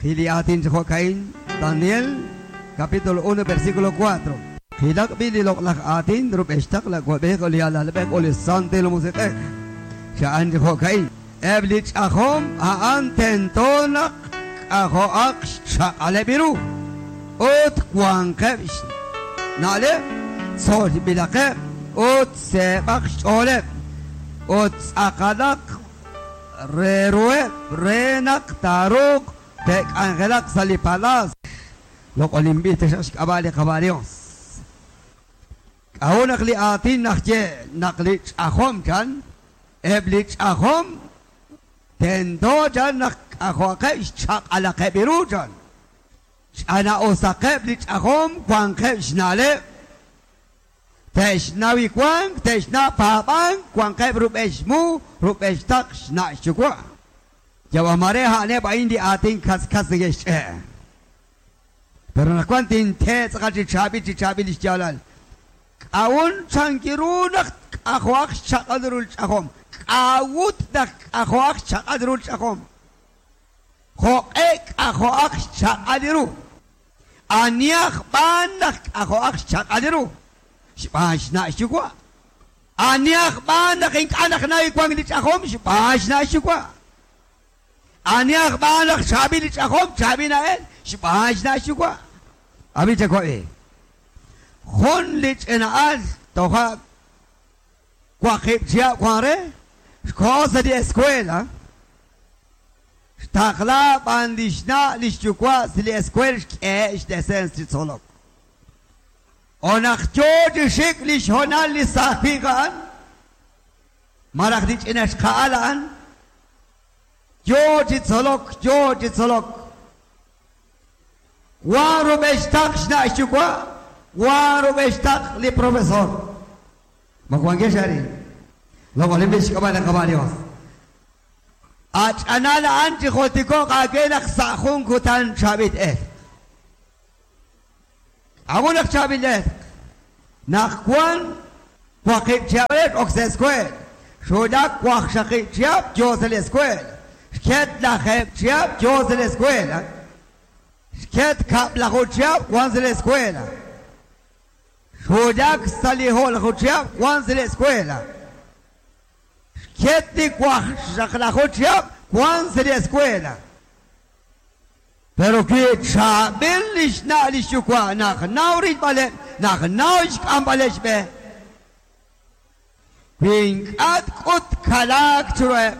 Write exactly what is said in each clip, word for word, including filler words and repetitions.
Jiliatin Jocaín, Daniel, capítulo uno, versículo cuatro. Jilak bili loqlaj atin, rub'extaq la wab'ej li alalb'ej li santil musiq'ej. Xa'an Jocaín. Eblich ajom a'an tentonaq k'ajo'aq xchaq'aleb' ut wanqeb' na'leb' tzolb'ilaqeb' ut seeb'aq xch'ooleb' ut tz'aqalaq reruheb' renaq taaruuq te'k'anjelaq sa' li palaas. Loq'olinb'il taxaq xk'ab'a' li Qaba' Dios. K'a'u naq li aatin najye naq li ch'ajom chan, eb' li ch'ajom tento chan naq k'ajo'aqeb' xchaq'alaqeb' ru chan. Ch'ana'osaqeb' li ch'ajom wanqeb' xna'leb'. Te'xnaw wank, te'xna' paab'ank, wanqeb' rub'ex mu, rub'ex taq xna' xyuwa'. Yawamare ha'neb' a'in li aatin kas-kas neke'xch'e'. Pero naq wan tintee tz'aqal chi chaab'il chi chaab'il li xyaalal. K'a'un chankiru naq k'ajo'aq xchaq'al ru li ch'ajom. K'a'ut naq k'ajo'aq xchaq'al ru li ch'ajom. Jo'q'e k'ajo'aq xchaq'al ru. Aniaj b'an naq k'ajo'aq xchaq'al ru. Xb'aan xna' xyuwa'. Aniaj b'an naq ink'a' naq naw wank li ch'ajom, xb'aan xna' xyuwa'. Aniaj b'an naq chaab'il li ch'ajom, chaab'il na'el, xb'aan xna' xyuwa'. Abi chakwa'i. Jun li ch'ina'al toja' waqib' chihab' wan re, xko'o sa' li escuela. Xtaqla b'an li xna' li xyuwa' sa' li escuela xk'e' xdesens chi tzolok. O naq yoo chi xik li xhonal li saajinq a'an, maraj li ch'ina xqa'al a'an, yoo chi tzolok, yoo chi tzolok. Wan rub'ex taq xna' xyuwa', wan rub'ex taq li profesor. Ma wankex arin. Loq'olinb'il xk'ab'a' li Qaba' Dios. Ach'anal a'an chi joltiko'q aawe naq sa' jun kutan chaab'il el. K'a'u naq chaab'il el. Naq wan waqib' chihab' ok sa' escuela. Xulak waqxaqib' chihab' yoo sa' li escuela. Xket lajeb' chihab' yoo sa' li escuela. Xket kab'laju chihab' wan sa' li escuela. Xulak sa' li jo'laju chihab' wan sa' li escuela. Xket li waqxaqlaju chihab' wan sa' li escuela. Pero wi chaab'il li xna' li xyuwa' naq naw rilb'aleb', naq naw xk'amb'aleb' xb'e. Wi ink'a' tk'ut kalaak chiruheb'.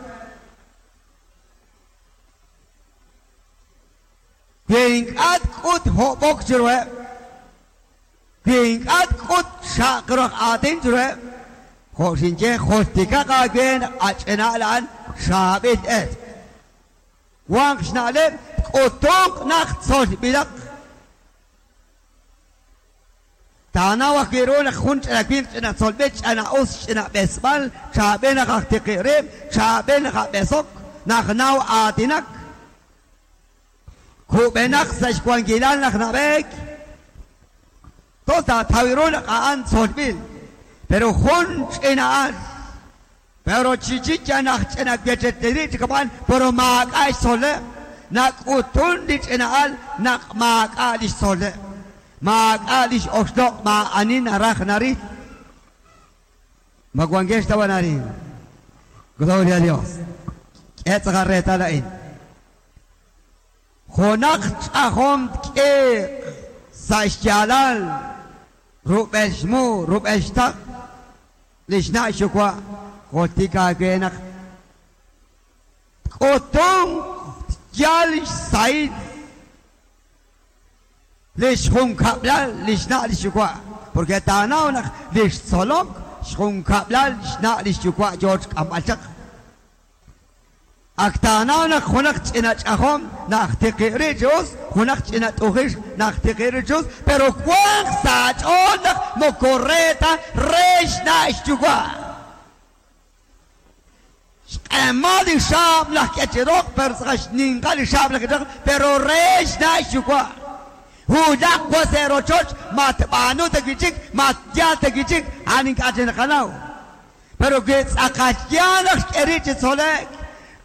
Wi ink'a' tk'ut hob'ok chiruheb'. Wi ink'a' tk'ut xaqroq aatin chiruheb'. Jo' xinye joltikaq aawe naq ach'ina'al a'an chaab'il el. Wanq xna'leb' k'utuq naq tzolb'ilaq. Taanaw ajwi' ru naq jun ch'ina winq ch'ina tzolb'il, ch'ina us, ch'ina b'esb'al, chaab'il naq aj tiqi' rib', chaab'il naq ab'esok, naq naw aatinak. Kub'enaq sa' xwankilal naq nab'eek. Tos taataw ru naq a'an tzolb'il. Pero jun ch'ina'al, pero chichicha naq ch'ina wecheteri' chikab'an, pero maak'a' xtzoleb'. Nak'utun li ch'ina'al naq maak'a' li xtzoleb'. Maak'a' li x'oxloq' maa'ani naraj naril. Ma wankex tawan arin. Gloria a Dios. K'e tz'aqal reetal a'in. Junaq ch'ajom tk'iiq sa' xyaalal rub'el xmu, rub'el xtaq li xna' xyuwa' joltik aawe naq tk'utun yal xsahil li xjunkab'lal li xna' li xyuwa'. Porque taanaw naq li xtzolok xjunkab'lal xna' li xyuwa' yoo xk'amb'al chaq. Ak taanaw naq junaq ch'ina ch'ajom naq tiqi' ri' chi us, junaq ch'ina t'ujix naq tiqi' ri' chi us, pero wanq sa' ch'ool naq moko re ta re xna' xyuwa'. Xq'emal li xaab' laj k'e chi roq, pero tz'aqal xninqal li xaab' laj k'e chi roq, pero re xna' xyuwa'. Hulaq wa sa' rochoch, ma tb'aanu ta wi' chik, ma tyaal ta wi' chik, a'an ink'a' chi naqanaw. Pero wi tz'aqal yaal naq xk'e ri' chi tzole'k,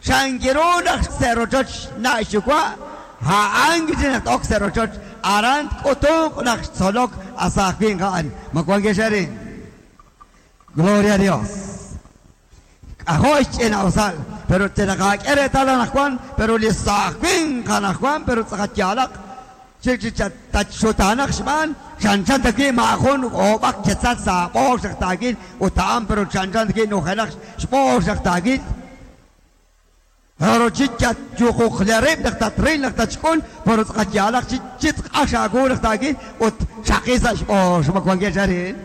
chankiru naq sa' rochoch xna' xyuwa', Ha'an naq ok sa' rochoch aran k'utuq naq xtzolok asaaj winq a'an. Ma wankex arin. Gloria a Dios. K'ajo' xch'ina'usal, pero tenaqak'e reetal anaqwan, pero li saaj winq anaqwan, pero tz'aqat yaalaq chi tatxutanaq xb'aan chanchan ta wi' maajun oob'aq ketzal sa' b'oox naq taakil ut a'an pero chanchan ta wi' nujenaq xb'oox naq taakil. Pero chi yuquqlerib' naq tatril naq tatxk'ul, pero tz'aqat yaalaq chi chi tz'q'ax aawu naq taakil ut xaqi sa' xb'oox. Ma wankex arin.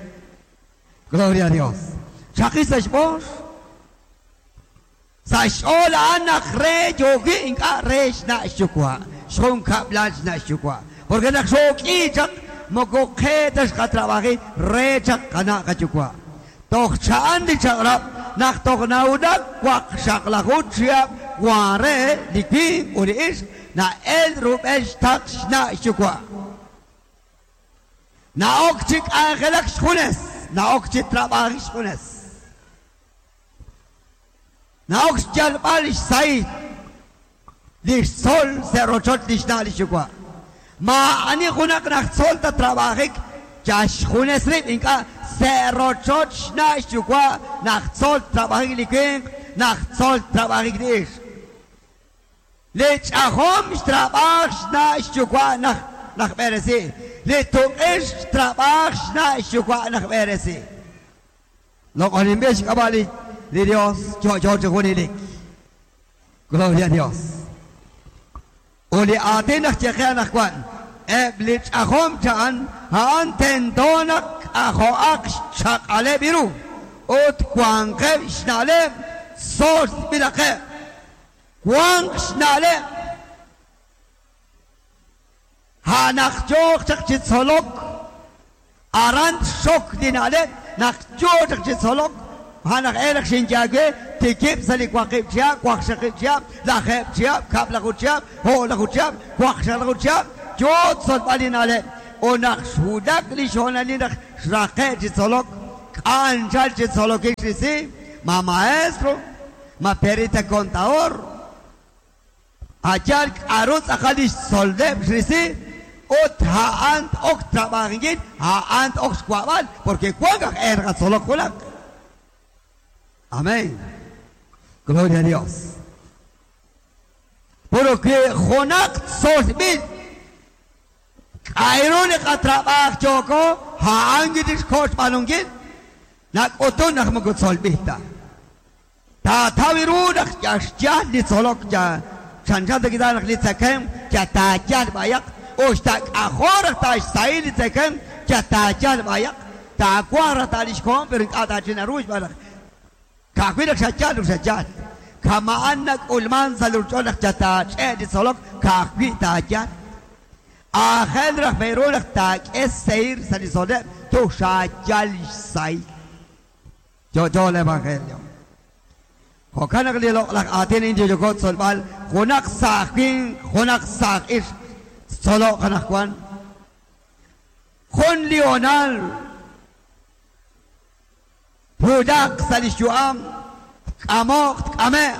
Gloria a Dios. Xaqi sa' xb'oox. Sa' xch'ool a'an naq re yooki ink'a' re xna' xyuwa'. Xjun kab'lal xna' xyuwa'. Porque naq xook'i chaq moko qe ta xqatrabaji re chaq qana' qayuwa'. Toj cha'an li chaq'rab' naq toj nawulak waqxaqlaju chihab' wan re li winq ut li ixq na'el rub'el xtaq xna' xyuwa'. Na'ok chi k'anjelak xjunes, na'ok chi trabaji xjunes. Na'ok xyalb'al xsahil li xtzol sa' rochoch li xna' li xyuwa'. Maa'ani junaq naq tzol ta trabajik ya xjunes rib' ink'a' sa' rochoch xna' xyuwa' naq tzol trabajik li winq, naq tzol trabajik li ixq. Li ch'ajom xtrabaj xna' xyuwa' naq naq b'eresi. Li tuq'ix xtrabaj xna' xyuwa' naq b'eresi. Loq'oninb'il xk'ab'a' li li Dios yo'yo chi junelik. Gloria a Dios. U li aatin naq yeqe anaqwan eb' li ch'ajom cha'an a'an tento naq k'ajo'aq xchaq'aleb' ru ut wanqeb' xna'leb' tzolb'ilaqeb'. Wanq xna'leb' ha'naq yooq chaq chi tzolok aran xok li na'leb' naq yoo chaq chi tzolok ha'naq elaq xinyawe tikib' sa' li waqib' chihab', waqxaqib' chihab', lajeb' chihab', kab'laju chihab', o'laju chihab', waqxaqlaju chihab', yoo tzolb'al li na'leb'. U naq xwulak li xhonalil naq xraqe' chi tzolok, k'anchal chi tzolokil xrisi, ma maestro, ma perita contador, ayal k'aru tz'aqal li xtzoleb' xrisi, ut ha'an ok trabajinkil, ha'an ok xwa'b'al, porque wank aj erqa tzolok junaq. Amén. Gloria a Dios. Porque junaq tzolb'il k'ayru li qatrab'aj yoko ha'an kitixkoch b'anunkil nak'utun naq moko tzolb'il ta. Taataw ru naq yaxyal li tzolok ya chanchan ta kita naq li tzakem ya taayal b'ayaq uxtak'ajor raj taxsahil li tzakem ya taayal b'ayaq taawa raj taalixkoon pero ink'a' taachinaru xb'aan naq ka'ajwi' naq xayal ru xayal. Kama'an nak'ulman sa' li ruuch'ool naq ya taach'e' li tzolok ka'ajwi' taayal. Aajel raj b'eru naq taak'e seir sa' li tzoleb' tu xayal xsahil. Yo'yo el evangelio. Jo'kan naq li loq'laj aatin inyoyoko tzolb'al junaq saaj winq, junaq saaj ixq tzoloq anaqwan. Jun li honal twulaq sa' li xyu'am tk'amoq tk'ame'q.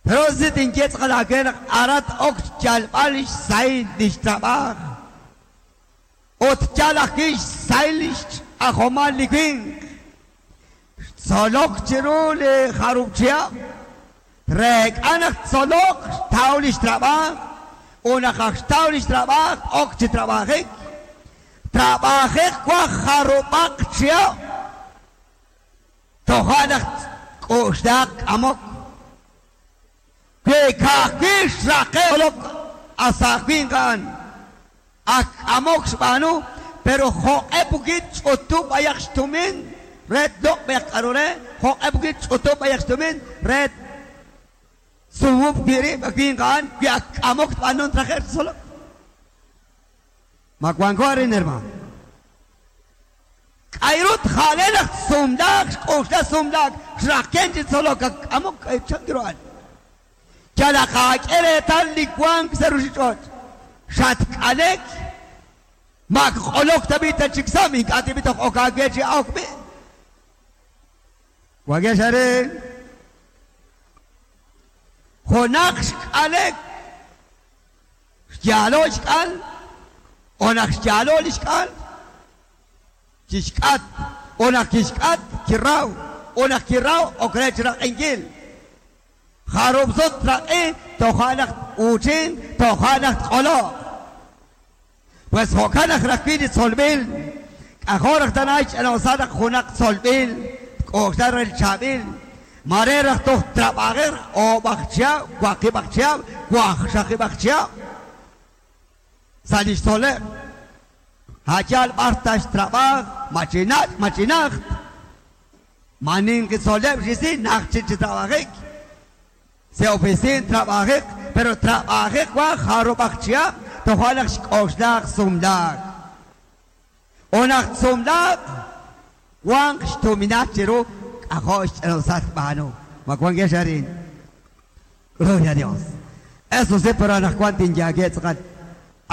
Pero si tinye tz'aqal aawe naq arat ok xyalb'al xsahil li xtrab'aj ut yal ajwi' xsahil li xch'ajomal li winq. Xtzolok chiru li jarub chihab' reek'a naq tzolok xtaw li xtrab'aj u naq aj xtaw li xtrab'aj ok chi trab'ajik. Trab'ajik waj jarub'aq chihab' toja' naq k'uxlaq k'amok. Wi ka'ajwi' xraqe' tzolok asaaj winq a'an ak k'amok xb'aanu, pero jo'q'e pukit ch'utub' b'ayaq xtumin re tloq' b'ayaq k'aru re, jo'q'e pukit ch'utub' b'ayaq xtumin re sumub' wi' rib' winq a'an wi ak k'amok tb'anun traje' tzolok. Ma wanko arin hermano. K'ayrut ja'le naq sumlaak xk'uxla sumlaak xraqen chi tzolok ak k'amok k'aychan ru a'an. Yalaq aak'e reetal li wank sa' ruuchich'och'. Xatk'alek mak q'olok tab'i ta chiksam ink'a' tib'i toj ok aawe chi awk b'i. Wakex arin. Junaq xk'alek Xyaalo xk'al o naq xyaalo li xk'al kixk'at o naq kixk'at kiraw o naq kiraw ok re xraq'inkil jarub' sut traq'i toja' naq uuchin toja' naq tq'oloq. Pues jo'kan naq rajwi' li tzolb'il k'ajor raj tana xch'ina'usa naq junaq tzolb'il tk'oxla re li chaab'il mare raj toj trab'ajej oob'aj chihab' waqib'aj chihab' wajxaqib'aj chihab' sa' li xtzoleb' ha'yal b'ar taxtrab'aj machinach' machinajt maninqi tzoleb' xisi naj chik chi trab'ajik se oficin trab'ajik pero trab'ajik wa jarub'aj chihab' toja' naq xk'oxlaq sumlaak o naq sumlaak wanq xtuminal chiru k'ajol xch'ina'usal b'aanu ma wankex arin. Gloria a Dios. Eso sí, pero anaqwan tinyaage tz'aqal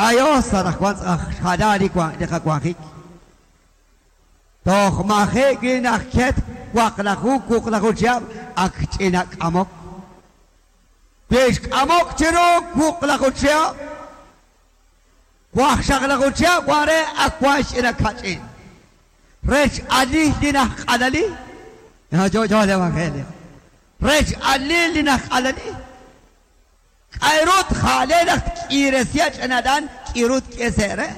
ayos anaqwan tz'aj xjala li li qawanjik toj maji' wi naq ket waqlaju wuqlaju chihab' ak ch'ina k'amok wi xk'amok chiru wuqlaju chihab' wajxaqlaju chihab' wan re ak wan xch'ina kach'in rech alij li najq'alali yo yo el evangelio rech alil li najq'alali k'ayrut jale naq tk'iresya ch'inadan k'irut k'esere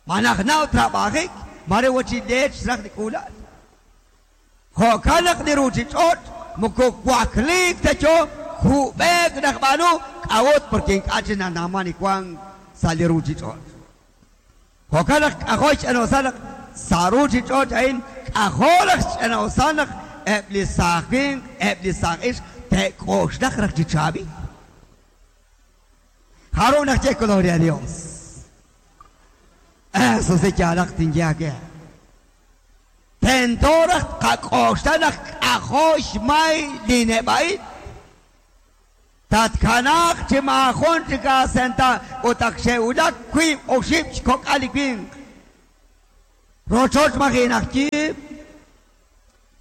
manaj naw trab'ajik mare wachi leech raj li k'ulal jo'kan naq li ruuchich'och' moko wakliik ta cho kub'eek naq b'aanu k'awut porque ink'a' chi nanaman li wank sa' li ruuchich'och' jo'kan naq k'ajol xch'ina'usal naq sa' ruuchich'och' a'in k'ajol naq xch'ina'usal naq eb' li saaj winq eb' li saaj ixq te'k'oxlaq raj chi chaab'il. Jarub' naq ye gloria a Dios. Eso sí yaalaq tinyaage. Tento raj qak'oxla naq k'ajol xmay li neb'a'il tatkanaaq chi maajun chik aasenta ut ak xe'wulak wiib' oxib' xkok'al li winq rochoch maji' naq yiib'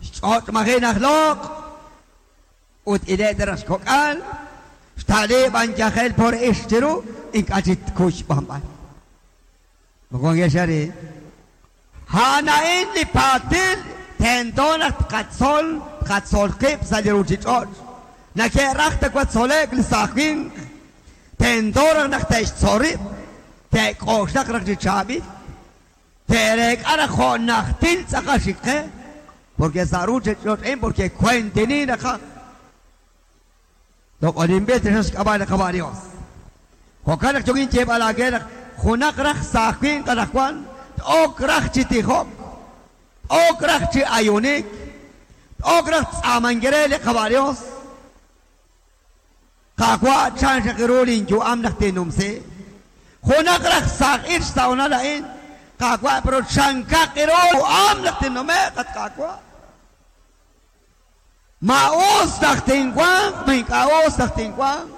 xch'och' maji' naq loq' ut ile' raj xkok'al xta'liib' anyajel por ix chiru ink'a' chi tkuy xb'anb'al. Mokongex arin ha'ana'in li paatil tento naq tqatzol tqatzol qib' sa' li ruuchich'och' nake'raj ta watzolek li saaj winq tento raj naq te'xtzol rib' te'k'oxlaq raj chi chaab'il te'reek'a raj jo' najtil tz'aqal xik qe porque sa' ruuchich'och'in porque kuentinin raj loq'olinb'il taxaq xk'ab'a' li Qaba' Dios. Jo'kan naq yokin yeeb'al aage naq junaq raj saaj winq anaqwan t'ok raj chi tijok t'ok raj chi ayunik t'ok raj tz'amankere li Qaba' Dios Qaqwa' chan xaq ru linyu'am naq tinumsi junaq raj saaj ix sa'onal a'in Qaqwa' pero chankaq ru yu'am naq tinnume'q at Qaqwa' ma us naq tinwanq ma ink'a' us naq tinwanq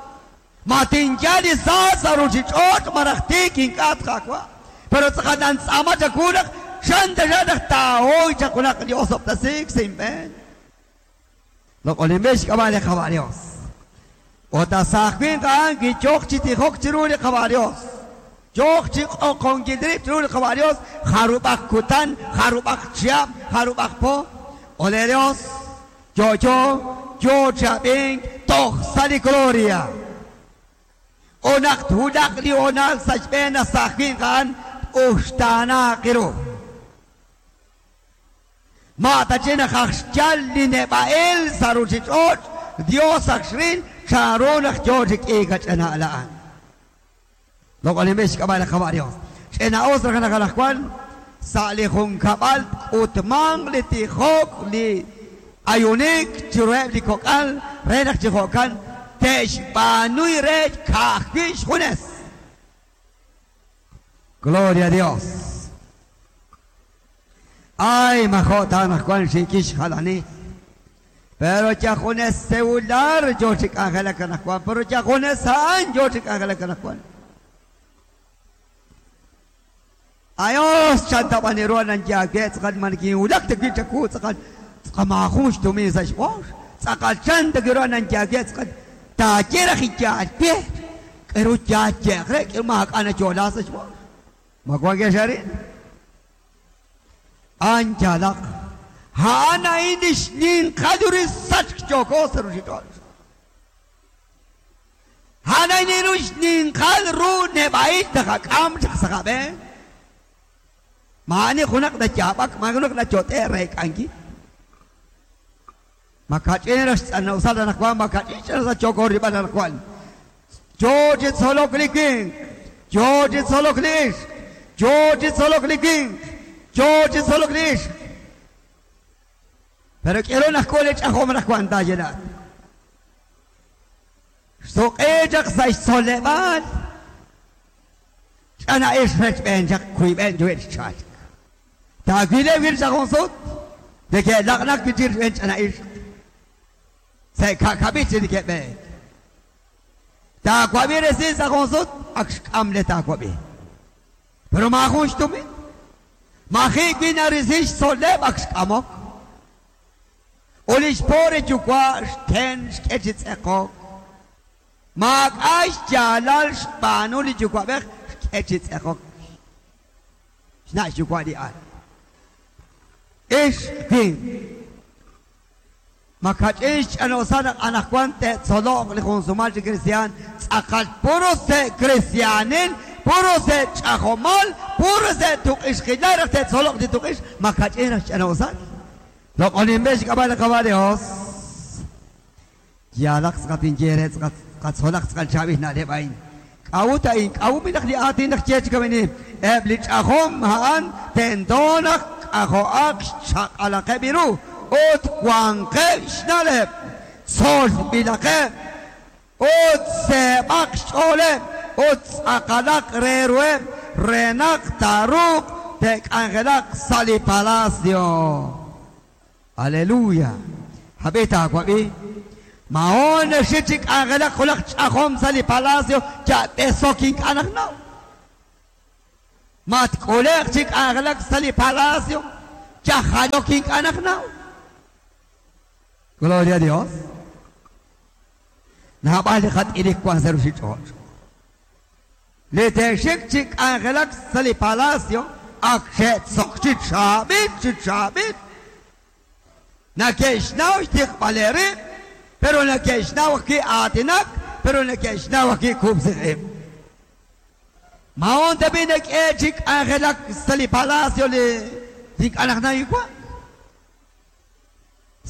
ma tinyal li sa' sa' ruuchich'och' maraj tiik ink'a' Qaqwa' pero tz'aqal nantz'ama chaku naq chan taxaq naq taahoy chaq junaq li osob'tasik sa' inb'een. Loq'olinb'il xk'ab'a' li Qaba' Dios. Ut saaj winq a'an kiyoq chi tijok chiru li Qaba' Dios yoq chi q'oqonkil rib' chiru li Qaba' Dios jarub'aj kutan jarub'aj chihab' jarub'aj po ole Dios yo yo yo chab'ink toj sa' li gloria o naq twulaq li honal sa' xb'een saaj winq a'an uxtaanaaq ru ma ta chi naq aj xyal li neb'a'il sa' ruuchich'och' Dios ak xril chanru naq yo chi k'iik ach'ina'al a'an. Loq'olinb'il xk'ab'a' li Qaba' Dios. Ch'ina'us raj naq anaqwan sa' li junkab'al k'utmanq li tijok li ayunik chiruheb' li kok'al re naq chi jo'kan te'xb'aanuy re ka'ajwi' xjunes. Gloria a Dios. Ay, majo' ta anaqwan xiikix jalani. Pero ya junes celular yo chi k'anjelak anaqwan, pero ya junes a'an yo chi k'anjelak anaqwan. Ayos chantab'aniru nanyaage tz'aqal mankinwulak tawi' chaku tz'aqal tz'aqamajun xtumin sa' xb'ox tz'aqal chan tawiru nanyaage tz'aqal taaye raj iyaal pie K'eru yaye'q re k'eru maak'a' nayo'la sa' xb'ool. Ma wankex arin? A'an yaalaq. A'an a'in li xninqal ru sachk yooko sa' ruuchich'och'. A'an a'in ru xninqal ru neb'a'il taqak'am chaq sa' qab'een. Maa'ani junaq nayaab'ak, maa'ani junaq nayot'e reek'ankil. Makach'in ra xtz'anawsal anaqwan, makach'in xtz'anawsal yooko rib'al anaqwan. Yo chi tzolok li winq, yo chi tzolok li ixq, yo chi tzolok li winq, yo chi tzolok li ixq. Pero k'eru naq k'u li ch'ajom anaqwan taayelat. Xsuq'e chaq sa' xtzoleb'aal, ch'ana ixq rechb'een chaq kuyb'een yuwe' xchalk. Taawileb' wir chaq jun sut, neke'laq'naq wi' chik rechb'een ch'ana ixq. Sa' ka'kab'il chi neke'b'eek. Taawab'i resil sa' jun sut, ak xk'am le taawab'i. Pero maajun xtumin. Maji' wi' narisi xtzoleb' ak xk'amok. U li xpoor yuwa' xten xk'e chi tz'eqok. Maak'a' xyaalal xb'aanu li yuwa'b'ej xk'e chi tz'eqok. Xna' xyuwa' li al. Ix winq. Makach'in xch'anawsal naq anaqwan te'tzoloq li jun sumal chi cristian tz'aqal puro se' cristianil, puro se' ch'ajomal, puro se' tuq'ixqilal raj te'tzoloq li tuq'ix, makach'in raj xch'anawsal. Loq'oninb'e xk'ab'a' li Qaawa' Dios. Yaalaq tz'aqat inye re tz'aqat qatzolaq tz'aqal chaab'il na'leb' a'in. K'a'ut a'in, k'a'ut naq li aatin naq ye chi kamini, eb' li ch'ajom a'an tento naq k'ajo'aq xchaq'alaqeb' ru ut wanqeb' xna'leb', tzolb'ilaqeb', ut seeb'aq xch'ooleb', ut tz'aqalaq re ruheb', re naq taaruuq te'k'anjelaq sa' li palacio. Aleluya. Hab'i taawab'i. Maon xi chi k'anjelaq junaq ch'ajom sa' li palacio ya'b'esok ink'a' naq naw. Matk'uleq chi k'anjelaq sa' li palacio yajalok ink'a' naq naw. Gloria a Dios. Naab'al li qat'ilik wan sa' ruuchich'och'. Li te'xik chi k'anjelak sa' li palacio ak xe'tzok chi chaab'il chi chaab'il. Nake'xnaw xtiqb'al rib', pero nake'xnaw ajwi' aatinak, pero nake'xnaw ajwi' kub'siq'ib'. Maon tabi nak'e chi k'anjelak sa' li palacio li ink'a' naq nayiwa'.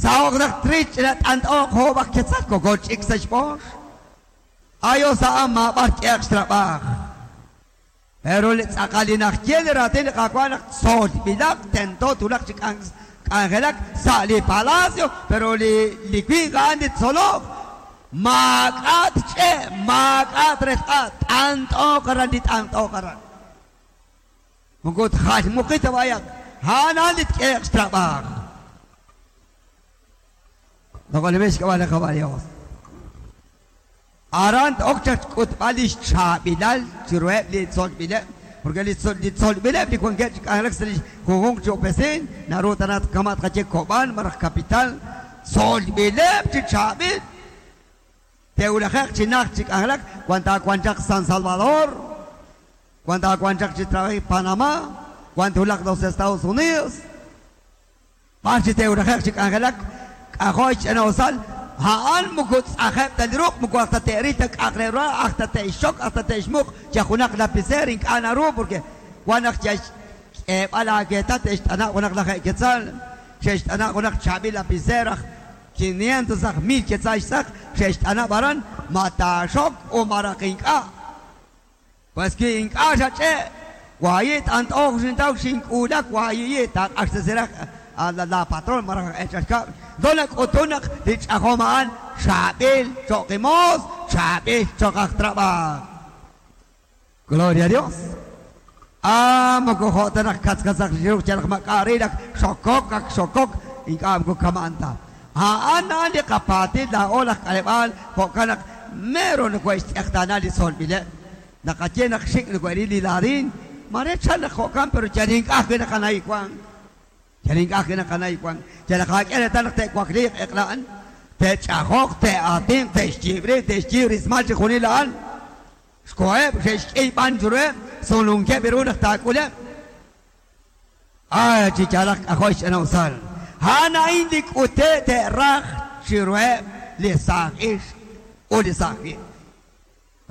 Sa'oq naq trich la t'ant'oq jo'b'aq ketzal koko ch'ik sa' xb'ox. Ayo sa'an maab'ar k'eq xtrab'aj. Pero li tz'aqal li naq ye li raatin li Qaawa' naq tzolb'ilaq tento tulaq chi k'anjelak sa' li palacio, pero li li winq a'an li tzoloq maak'a' tch'e', maak'a' tresq'a', t'ant'oq aran li t'ant'oq aran. Moko tjalmuqit b'ayaq, a'an a'an li tk'eq xtrab'aj. Loq'olinb'il xk'ab'a' li Qaawa' Dios. Aran ok chaq xk'utb'al li xchaab'ilal chiruheb' li tzolb'ileb', porque li tzolb'ileb' li wankeb' chi k'anjelak sa' li junjunq chi opesin, naru tanat kama' tqaye Kob'an maraj Capital, tzolb'ileb' chi chaab'il. Te'wulajeq chi najt chi k'anjelak, wan taawan chaq San Salvador, wan taawan chaq chi trabajo Panamá, wan tulaq los Estados Unidos. B'ar chi te'wulajeq chi k'anjelak, k'ajo' xch'anawsal, a'an moko tz'ajeb' ta li ruq', moko hasta te'ril ta k'aq re ru, hasta te'xxok, hasta te'xmuq, yajunaq lapicer ink'a' naru, porque wan naq xk'eeb'al aakeetal te'xt'ana' junaq laj quetzal, xe'xt'ana' junaq chaab'il lapicer aj quinientos aj mil quetzal xtz'aq, xe'xt'ana' b'aran, ma taaxok o maraq ink'a'. Pues ki ink'a' xach'e', wayi' t'ant'oq xintaw xink'uulak, wayiyi' taaq'axtesiraj la, la patrón maraj ech'axkab'. Dona k'utunaq li ch'ajom a'an chaab'il cho'qimoos, chaab'il cho'q aj trab'aj. Gloria a Dios. Ah, moko jo'tanaq katzkatzaq xiruq chalaq mak'arilaq xokok ak xokok ink'a' moko kama'an ta. A'an a'an li qapaatil laa'o laj k'aleb'aal jo'kan naq mero nako'xtz'eqtaana li tzolb'ileb'. Naqaye naq xik' nako'ril li laadin, mare chal naq jo'kan pero yal ink'a' ajwi' naqanaywan. Yal ink'a' ajwi' naqanaywan. Yal naqak'e reetal naq te'wakliiq eq'la'an, te'ch'ajoq, te'aatinq, te'xyiib rib', te'xyiib rismal chi junil a'an. Xkoheb' xe'xk'ey b'an chiruheb', sulunkeb' ru naq taak'uleb'. Ay, chi yaalaq k'ajo' xch'ina'usal. A'an a'in li k'ute' te'raj chiruheb' li saaj ixq ut li saaj winq.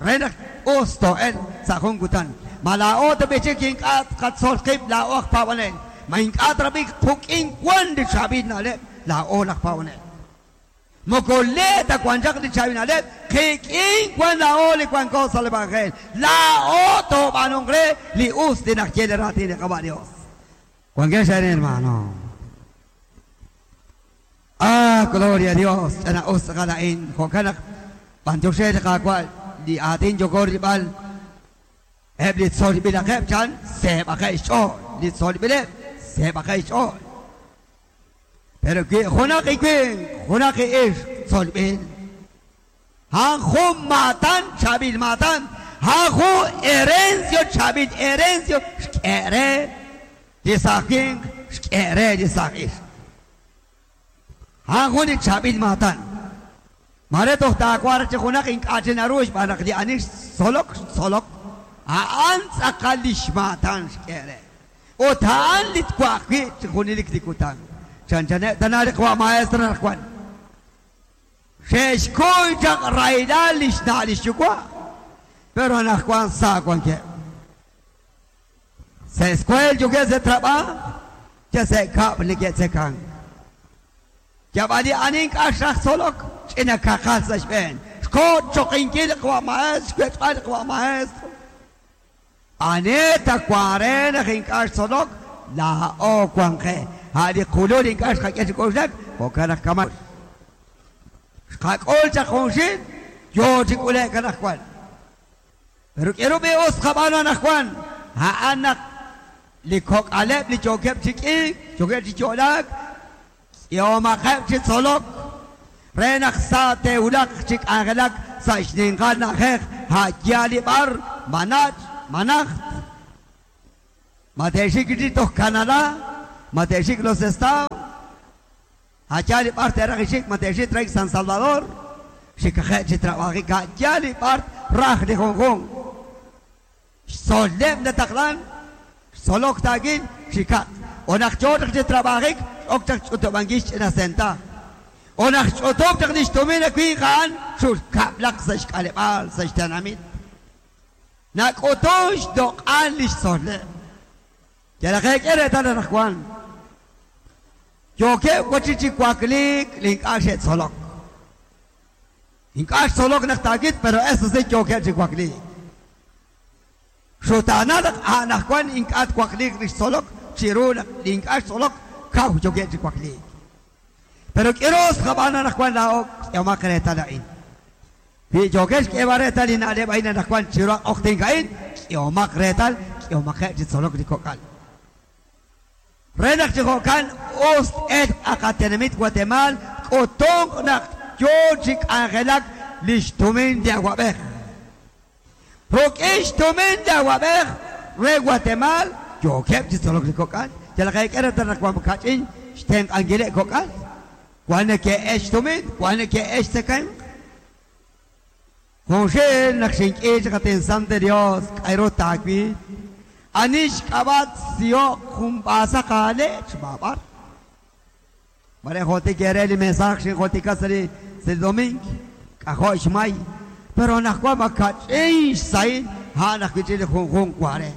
Re naq us to'el sa' jun kutan. Ma laa'o tab'i chik ink'a' tqatzol qib' laa'o aj paab'anel. Ma ink'a' trab'ik quk'in wan li chaab'il na'leb' laa'o laj paab'anel. Moko le ta wan chaq li chaab'il na'leb' qik'in wan laa'o li wanko sa' li evangelio. Laa'o toob'anunk re li us li naxye li raatin li Qaawa' Dios. Wankex arin, hermano. Ah, gloria a Dios. Ch'ina us tz'aqal a'in. Jo'kan naq b'antiox li Qaawa' li aatin yoko rilb'al eb' li tzolb'ilaqeb' chan seeb'aqeb' xch'ool. Li tzolb'ileb' seeb'aqeb' xch'ool. Pero wi junaq i winq, junaq i ixq tzolb'il. A'an jun maatan, chaab'il maatan. A'an jun herencio, chaab'il herencio xk'e re li saaj winq, xk'e re li saaj ixq. A'an jun li chaab'il maatan. Mare toj taawaar chi junaq ink'a' chi naru xb'aan naq li ani xtzolok, xtzolok. A'an tz'aqal li xmaatan xk'e re. Ut a'an li twaq wi' chi junelik li kutan. Chanchaneb' tana li qawa' maestro naq wan. Xe'xkuy chaq rahilal li xna' li xyuwa'. Pero anaqwan sa wankeb'. Sa' escuela yookeb' sa' trabajo, ya sa' kab' neke'tzekan. Yab'al li ani ink'a' xraj tzolok, ch'ina kaqal sa' xb'een. Xko' choqinkil li qawa' maestro, xwech'b'al li qawa' maestro. Ane tawaare naq ink'a' xtzolok, laa'o wanqe. A' li qulul ink'a' xqak'e chi k'oxlak, jo'kan naq kama'. Xqak'ul chaq junxil, yoo chi k'ule'k anaqwan. Pero k'erub'i us qab'aanu anaqwan, a'an naq li kok'aleb' li yookeb' chi k'iik, yookeb' chi yo'laak, k'ihomaqeb' chi tzolok, re naq sa te'wulaq chi k'anjelak sa' xninqal na'ajej, a' yaal li b'ar, manach, manajt. Ma te'xik chi toj Canadá, ma te'xik los Estados, a' yaal li b'ar te'raj ixik, ma te'xik trek San Salvador, xikaqeb' chi trabajik, a' yaal li b'ar raj li junjun. Xtzoleb' nataqlan, xtzolok taakil, xikaq. O naq yoo chaq chi trabajik, ok chaq ch'utub'ankil xch'ina senta. O naq ch'utub' chaq li xtumin winq a'an, xulkab'laq sa' xk'aleb'aal, sa' xtenamit. Nak'utun xdoq'al li xtzoleb'. Yalaqe k'e reetal anaqwan. Yookeb' wachi chi wakliik li ink'a' xe'tzolok. Ink'a' xtzolok naq taakit, pero eso sí yookeb' chi wakliik. Xutaana naq anaqwan ink'a' twakliik li xtzolok, chiru naq li ink'a' xtzolok, kaw yookeb' chi wakliik. Pero k'iros qab'aan anaqwan laa'o k'ehomaq reetal a'in. Wi yookeb' xk'eeb'al reetal li na'leb' a'in anaqwan chiru aq'oqtink a'in, k'ehomaq reetal, k'ehomaqeb' chi tzolok li kok'al. Re naq chi jo'kan us el aqatenamit Guatemala, k'utunq naq yoo chi k'anjelak li xtumin li awab'ej. Ruk'in xtumin li awab'ej re Guatemala, yookeb' chi tzolok li kok'al. Yalaq k'e reetal naq wan kach'in xtenq'ankileb' kok'al. Wan neke'ex xtumin, wan neke'ex tzekemq. Junxil naq xink'i chi qatin Sante Dios, k'ayru taawil. Ani xk'ab'at siyo' jun b'aasaq aale' xb'ab'ar. Mare jotik ere li mensaje xinjotika sa' li sa' li domingo, k'ajo' xmay. Pero naq wan makach'in xsahil, a'an ajwi' li junjun ware.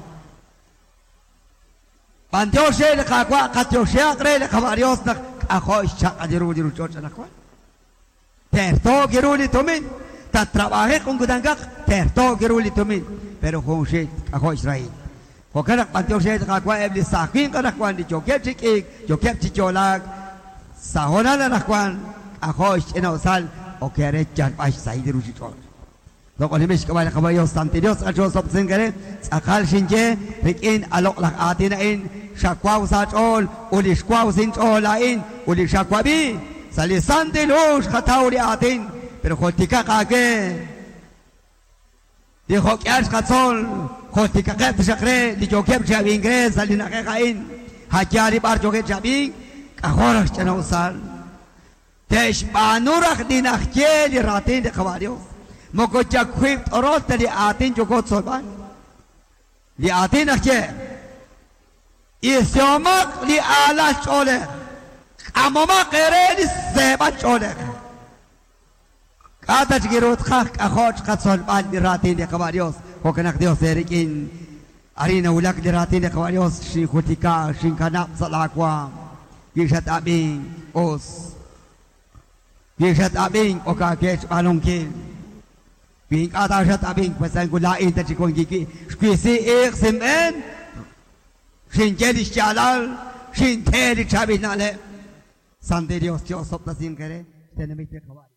B'antiox re li Qaawa', qatioxeaq re li Qaawa' Dios naq k'ajo' xchaq'al ru li ruuchich'och' anaqwan. Tertook ru li tumin, tatrabajiq jun kutankaq, tertook ru li tumin. Pero junxil k'ajo' xrahil. Jo'kan naq b'antiox re li Qaawa' eb' li saaj winq anaqwan li yookeb' chi k'iik, yookeb' chi yo'laak, sa' honal anaqwan k'ajo' xch'ina'usal ok re yalb'al xsahil li ruuchich'och'. Loq'onimix xk'ab'a' li Qaawa' Dios, Santi Dios, tz'aqal xoosob'tesink re, tz'aqal xinye rik'in aloq' laj aatin a'in, xawaw sa' ch'ool, ut li xwaw sin ch'ool a'in, ut li xawab'i, sa' li Santil Hu xqataw li aatin, pero joltikaq aawe. Li jo'k'ihal xqatzol, joltikaqeb' taxaq re, li yookeb' chi ab'ink re, sa' li na'ajej a'in, a' yaal li b'ar yookeb' chi ab'ink, k'ajo' raj xch'ina'usal. Te'xb'aanu raj li najye li raatin li Qaawa' Dios. Moko yakwib' t'orol ta li aatin yooko tzolb'al. Li aatin naxye isihomaq li aalal ch'oolej. K'amomaq eere li seeb'al ch'oolej. K'a' ta chik ru tqaj k'ajo' xqatzolb'al li raatin li Qaba' Dios. Jo'kan naq Dios eerik'in arin nawulak li raatin li Qaba' Dios xinjultika xinkanab' sa' laawaam. Wi xat-ab'ink us. Wi xat-ab'ink ok aakee xb'aanunkil. Wi ink'a' ta xat-ab'ink pues laa'in ta chik wankiki xwisi iiq sinb'een xinye li xyaalal xinte li chaab'il na'leb'. Santi Dios, Dios sobtasinq eere tenamit li Qaba'